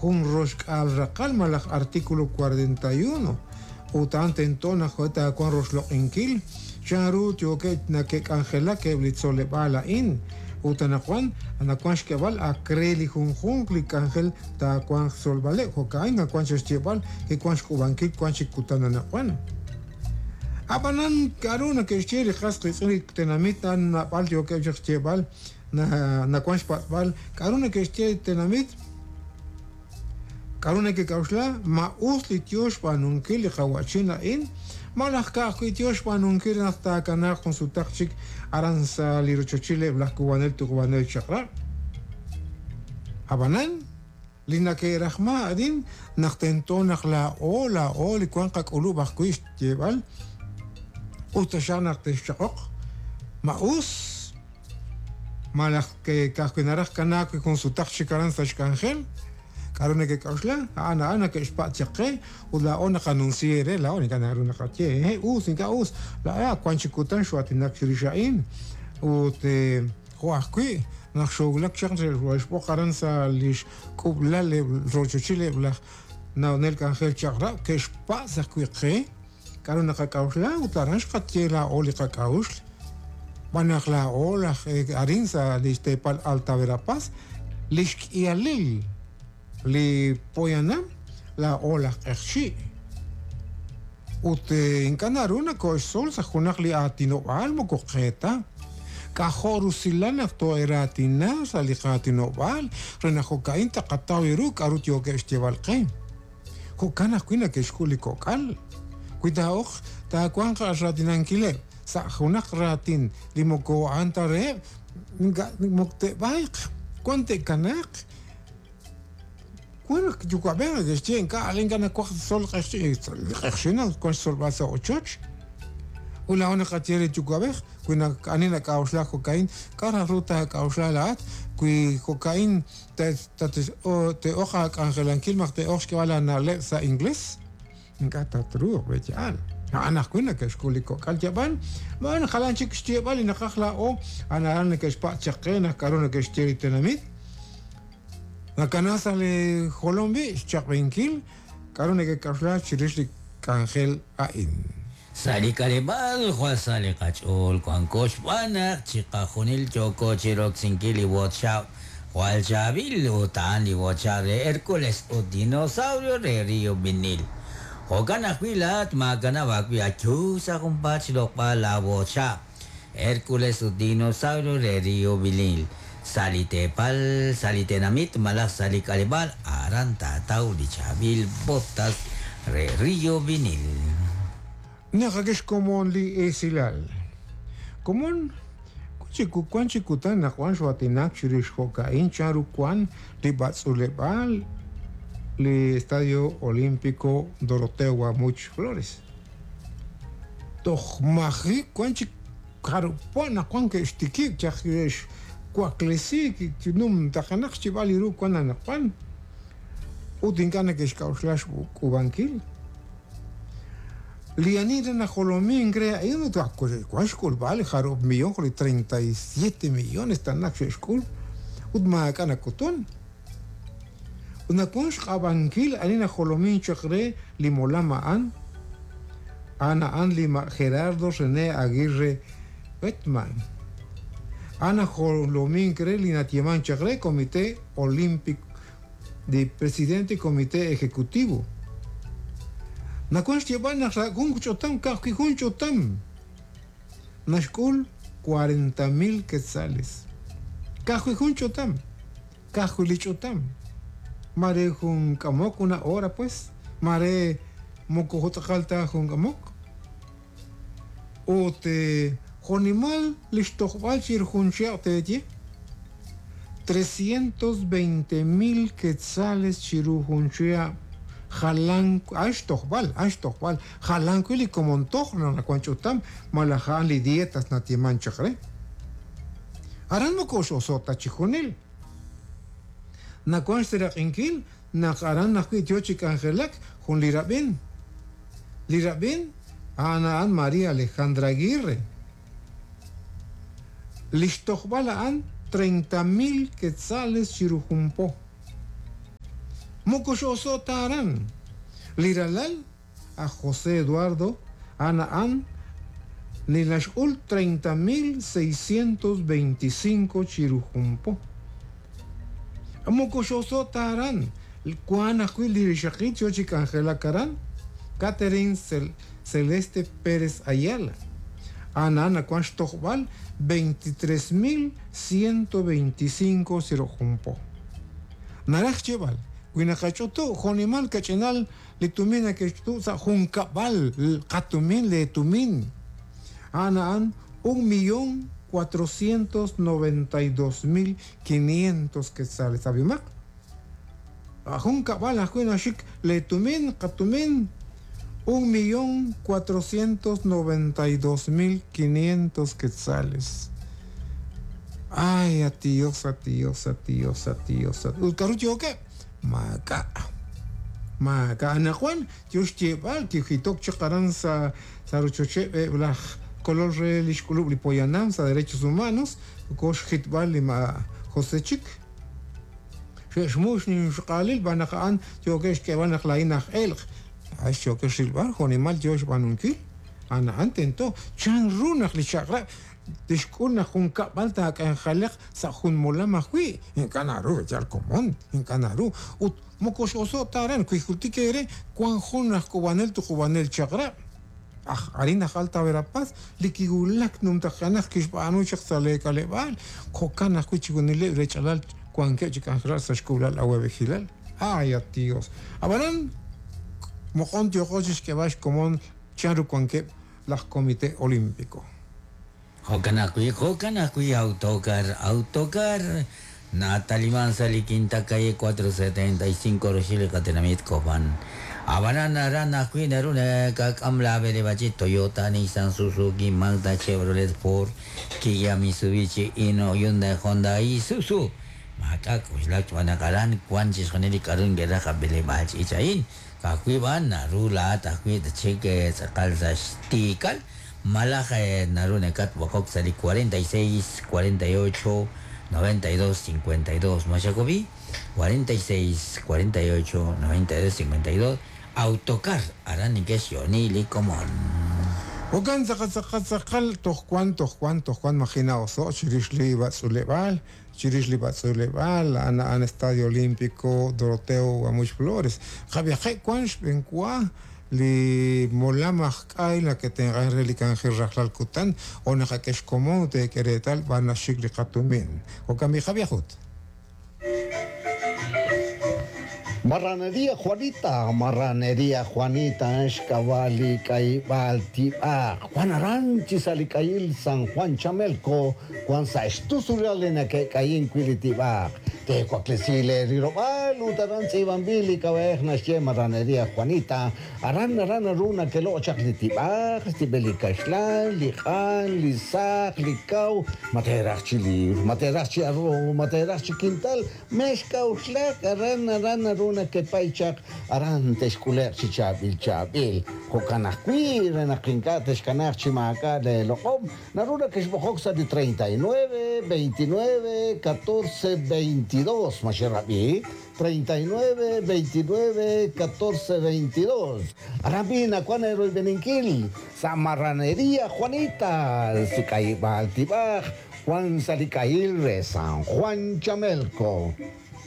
Jun roxk'aal raqal malaj artículo 41, ut a'an tento naq taawanq roxloq'inkil chan ru yookeb' nake'k'anjelak eb' li tzoleb'aal a'in, ut anaqwan nawank xk'eb'al ak re li junjunq li k'anjel taawanq xtzolb'aleb', jo'ka'in nawank chaq xyeeb'al kiwank xk'uub'ankil wank chik kutan anaqwan. Ab'anan k'aru nake'xye li qas qiitz'in li tenamit a'an naab'al yookeb' chaq xyeeb'al nawank xpatz'b'al k'aru neke'xye li tenamit, k'aru nekek'a'uxla, ma us li yo xb'aanunkil li qawa'chin a'in, malaj ka'ajwi' yo xb'aanunkil re naq taakanaaq jun sutaq chik aran sa' li rochochil eb' laj k'uub'anel tuqub'anel chaq'rab'. Ab'anan, li nake'rajma arin naq tento naq laa'o laa'o li wank qak'ulub' ajwi' xyeeb'al us taxaq naq texchaq'oq, ma us malaj ka'ajwi' naraj kanaak jun sutaq chik aran sa' xk'anjel, k'a'ru nekek'a'uxla, a'an a'an nake'xpatz' chaq qe ut laa'o naqanunsi eere, laa'o ink'a' naru naqaye hehe' us, ink'a' us, laa'o ak wan chik kutan xoo'aatinak chirix a'in ut jo' ajwi' naq xoowulak chaq xe'xb'oq aran sa' li xk'ub'lal eb' rochochil eb' laj na'onel k'anjel chaq'rab' ke'xpatz' ajwi' qe K'aru naqak'a'uxla ut aran xqaye laa'o li qak'a'uxl? Xb'aan naq laa'o laj arin sa' li xteepal Alta Verapaz, li xk'ihalil li poyanam laa'o laj q'eqchi'. Ut ink'a' naru nakooxtzol sa' junaq li aatinob'aal moko qe ta. K'ajo' rusilal naq too'eraatina sa' li qaatinob'aal re naq jo'ka'in taqataw ru k'aru yookeb' xyeeb'al qe. Jo'kan ajwi' neke'xk'ul li kok'al. Wi taa'oq taawanq raatinankileb' sa' junaq raatin li moko a'an ta reheb', ink'a' moko te'b'ayq, wan te'kanaaq. Wan naq yuwa'b'ej neke'xye ink'a' ink'a' nawaj tzol q'eqchi', li q'eqchi' wan xtzolb'al sa' ochoch. Ut laa'o naqaye re yuwa'b'ej, wi ani nak'a'uxlak jo'ka'in, k'a' raj ru taak'a'uxla laa'at wi jo'ka'in te'oq aak'anjelankil malaj te'oq xk'eb'al aana'leb' sa' ingles? Ink'a' tatruuq, b'e'yaal. A'an ajwi' neke'xk'ul li kok'al yab'an, ma'an jalan chik xyeeb'al li naqaj laa'o, a'an aran neke'xpatz' chaq qe naq k'aru neke'xye li tenamit. Nakana sa' li jolom b'i' xchaq'b'enkil k'aru nekek'a'uxla chirix li k'anjel a'in. Sa' li k'aleb'aal jwal sa li qach'ool wanko xb'aan naq chiqajunil yooko chi roksinkil li WhatsApp jwal chaab'il ut a'an li WhatsApp re Hercules ut Dinosaurio re Rio Vinil. Jo'kan ajwi' laa'at maakanab' aawib' ayu sa' junpaat xloq'b'al laa WhatsApp Hercules ut Dinosaurio re Rio Vinil sa' li teepal, sa' li tenamit malaj sa' li k'aleb'aal aran taataw li chaab'il botas re Rio Vinil. Naqak'e xkomon li esilal. Komon, wan chik kutan naq wan xoo'aatinak chirix jo'ka'in chan ru wan li b'atz'uuleb'aal li Estadio Olímpico Doroteo Guamuch Flores. Toj maji' wan chik jarub' po naq wan ke'xtikib' chaq xwaklesiik chi numtajenaq xchib'al li ru wan anaqwan ut ink'a' neke'xk'a'uxla xk'uub'ankil. Li ani re najolomink re a'in ut wan xk'ulb'al li jarub' millón jo' li 37 millones tana xe'xk'ul ut maak'a' nak'utun. Ut nawank xq'ab'ankil ani najolomink chaq re li molam a'an, a'an a'an li ma' Gerardo René Aguirre Oettmann. A'an najolomink re li nayeemank chaq re Comité Olímpico li Presidente Comité Ejecutivo. Nawank xyeeb'al naq sa' jun ch'utam ka'ajwi' jun ch'utam naxk'ul cuarenta mil quetzales. Ka'ajwi' jun ch'utam. Ka'ajwi' li ch'utam. Maare jun k'amok una hora pues, maare moko jo' tz'aqal ta jun k'amok. Ut jo'nimal li xtojb'al chiru jun chihab' teeye? 320 mil quetzales chiru jun chihab' jalan a'an xtojb'al, a'an xtojb'al, jalan wi' li komon toj naq nawank ch'utam malaj a'an li dietas nayeemank chaq re. Aran moko x'oso' ta chijunil. Nawank xseraq'inkil naq aran ajwi' yo chi k'anjelak jun li rab'in. Li rab'in a'an a'an María Alejandra Aguirre. Li xtojb'al a'an 30 mil quetzales chiru jun po. Moko x'oso' ta aran. Li ralal aj José Eduardo a'an a'an li naxk'ul 30,625 chiru jun po. Moko x'oso' ta aran. Wan ajwi' li rixaqil yo chi k'anjelak aran, Catherine Celeste Pérez Ayala. A'an a'an nawan xtojb'al 23,125 chiru jun po. Naraj xyeeb'al, wi naqach'utu' jo'nimal kach'inal li tumin nake'xch'utu' sa' jun kab'al qatumin le tumin. A'an a'an 1,492,500 quetzales. Ab'imaq? Jun kab'al ajwi' naxik le tumin qatumin 1,492,500 quetzales. Ay, a Dios, a Dios, a Dios, a Dios. Ut k'aru yookeb'? Maak'a'. Maak'a' anaqwan yo xyeeb'al kijitok chaq aran sa' rochocheb' eb' laj kolol re li xk'ulub' li poyanam sa' derechos humanos ko xjitb'al li ma José chik. Xe'xmux ninxq'aalil b'an naq a'an yookeb' xk'eeb'al naq laa'in aj elq'. Ay, yookeb' xrilb'al jo'nimal yo xb'aanunkil. A'an a'an tento chan ru naq li chaq'rab' tixk'ul naq jun kab'al taak'anjelaq sa' jun molam ajwi'. Ink'a' naru yal komon, ink'a' naru. Ut moko x'oso' ta aran wi jultik eere wan jun aj k'uub'anel tuqub'anel chaq'rab'. Aj arin aj Alta Verapaz li kiwulak numtajenaq kixb'aanu chaq sa' le k'aleb'aal. Jo'kan ajwi' chixjunileb' rech'alal wankeb' chi k'anjelak sa' xk'uulal awa'b'ejilal. Ay, a Dios. Ab'anan moqon yooqo chixk'eeb'al xkomon chanru wankeb' laj Comité Olímpico. Jo'kan ajwi' Autocar, Autocar nataliman sa' li Quinta Calle 475 roxil li qatenamit Cobán. Ab'anan aran ajwi' naru nakak'am la b'eleb'achit Toyota, Nissan, Suzuki, Mazda, Chevrolet, Ford, Kia, Mitsubishi, Hino, Hyundai, Honda, Isuzu. Maak'a' k'uxlak xb'aan naq aran wan chixjunil li k'aru nke'raj ab'eleb'aal ch'iich a'in. Ka'ajwi' b'an naru laa'at ajwi' tchik tz'aqal sa' xtiikal malaj naru nakatb'oqok sa' li 46 48 92 52. Machacobi 46 48 92 52. Autocar aran neke'xyo'ni li komon. Jo'kan tz'aqal toj wan toj wan toj wan majina oso' chirix li b'atz'uleb'aal chirix li b'atz'uleb'aal a'an a'an Estadio Olímpico Doroteo Guamuch Flores. Qab'iaqe' wan xb'enwa li molam aj k'ay nake'tenq'an re li k'anjel rajlal kutan o naqak'e xkomon ut teek'e reetal b'ar naxik li qatumin. Jo'kan b'i qab'iajut. Marranería Juanita, Marranería Juanita, xk'ab'a' k'ayib'aal tib'aq. Juan Aranchi sa' li k'ayil San Juan Chamelco, Juan sa' xtusulal li nake'k'ayin wi' li tib'aq. Tewaklesi le rirob'aal ut aran tz'iib'anb'il li k'ab'a'ej naxye Marranería Juanita. Aran aran naru nakelo' chaq li tib'aq, xtib'el li kaxlan, li q'an, li saq, li kaw, materaj chi libr, materaj chi arroz, materaj chi quintal, mex k'a'uxlak aran aran naru nakepay chaq aran texk'ule'q chi chaab'il chaab'il. Jo'kan ajwi' re naq ink'a' texkanaaq chi maak'a' le loq'om, naru nakexb'oqok sa' li 39 29 14 22. Ma xerab'i? 39 29 14 22. Aran b'i nawan eroyb'eninkil sa' Marranería Juanita, si k'ayib'aal tib'aj, Juan sa' li k'ayil re San Juan Chamelco.